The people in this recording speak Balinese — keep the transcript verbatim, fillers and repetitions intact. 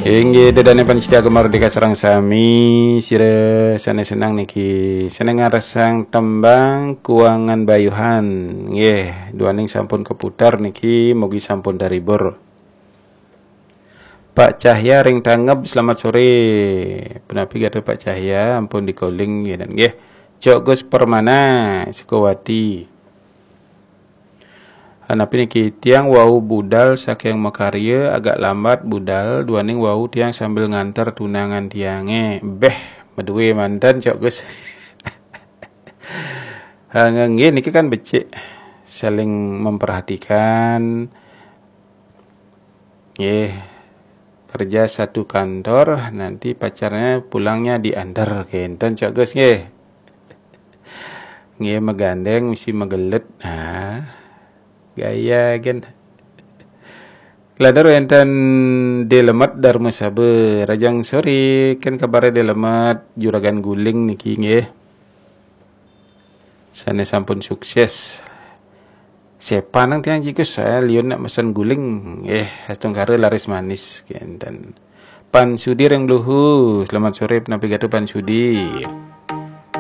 Inggih, ida dané pamiarsa Gema Merdeka sareng sami, sira sané seneng niki, sané ngrasang tembang Kuangan Bayuhan. Nggih, duaning sampun keputar niki, mugi sampun terhibur. Pak Cahya ring Tangeb, selamat sore. Punapi gatra Pak Cahya, ampun di-calling nggih, nggih. Cok Gus Permana, Sukawati. Napi niki, tiang wau budal saking makarya, agak lambat budal, duaning wau tiang sambil nganter tunangan tiangé. Béh, madué manten, Cok Gus. Ha, nggih, niki kan becik saling memperhatikan. Nggih, kerja satu kantor, nanti pacarnya pulangnya diantar. Kénten, Cok Gus, nggih. Nggih, magandéng mesti magelut. Ha. Gaya gén. Kelantur wénten Dé Lemet Darmasaba. Rahajeng soré, kén kabaré Dé Lemet, Juragan Guling niki nggih. Sané sampun sukses. Sepan nang tiang jikus, saya liun nak mesen guling. Eh, astungkara laris manis, kénten. Pan Sudi ring Bluhu, selamat sore, punapi gatra Pan Sudi.